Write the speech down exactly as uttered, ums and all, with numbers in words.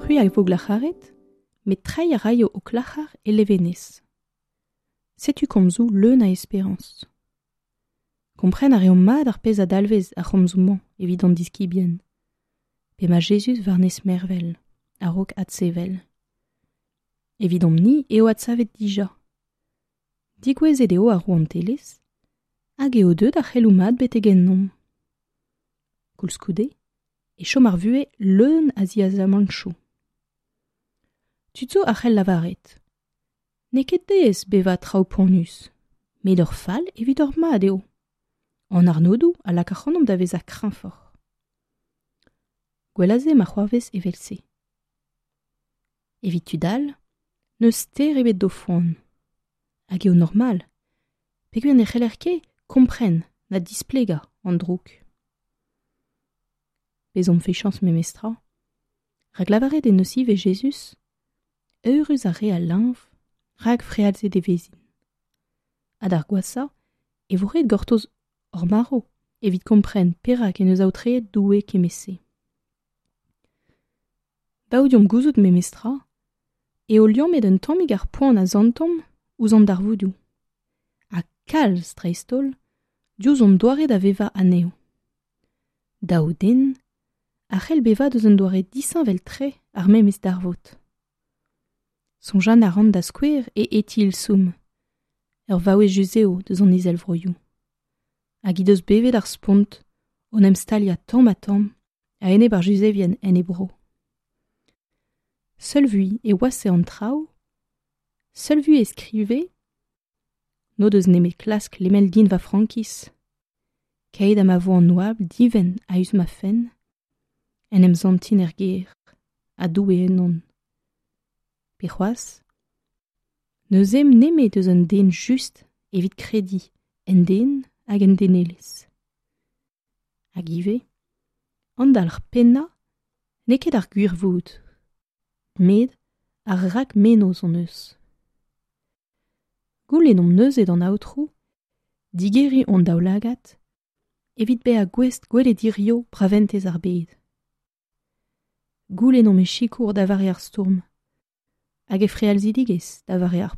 C'hwi a vo glac'haret, met treiñ a raio ho klac'har e levenez. Setu komzoù leun a esperañs. Kompren a reomp mat ar pezh a dalvez ar c'homzoù-mañ evit an diskibien. P'emañ Jezuz war-nes mervel, a-raok adsevel. Evidomp-ni eo adsavet dija. Degouezhet eo ar rouantelezh, hag eo deuet ar c'heloù mat betek ennomp. Koulskoude, e chom ar vuhez leun a ziaezamantoù. Tud zo a c'hell lavaret. N'eo ket aes bevañ traoù poanius, met ur fall evit ur mad eo. An arnodoù a lak ac'hanomp da vezañ kreñvoc'h. Gwell a se ma c'hoarvez evel-se. Evit tud all, n'eus ster ebet d'o foan. Hag eo normal, peogwir ne c'heller ket kompren na displegañ an droug. Bezomp fiziañs memestra, rak lavaret en deus ivez Jezuz, eürus ar re a leñv, rak frealzet e vezint. Ha d'ar gwashañ e vo ret gortoz hor marv evit kompren perak en deus aotreet Doue kement-se. Dav deomp gouzout memestra eo liammet un tammig ar poan a santomp ouzh an darvoudoù. Ha kalz dreist-holl diouzh hon doare da vevañ anezho. Daou den a c'hell bevañ deus un doare disheñvel-tre ar memes darvoud. Soñjal a ran da skouer e Etty Hillesum, ur vaouez yuzev deus an Izelvroioù. Hag he deus bevet ar spont o 'n em staliañ tamm-ha-tamm a-enep ar Yuzevien en he bro. Seul vui e washae an traoù, seul vui e skrive n'o deus nemet klask lemel din va frankiz, keit ha ma vo an oabl divent a-us ma fenn, en em santin er gêr, ha Doue ennon. Pe c'hoazh, n'eus ezhomm nemet eus un den just evit krediñ en den hag en denelezh. Hag ivez, an dalc'h pennañ n'eo ket ar gwirvoud, met ar rakmennozh hon eus. Goulennomp neuze d'an Aotrou digeriñ hon daoulagad evit bezañ gouest gwelet hiziv braventez ar bed. Goulennomp e sikour da vare ar stourm, hag e frealzidigezh da vare ar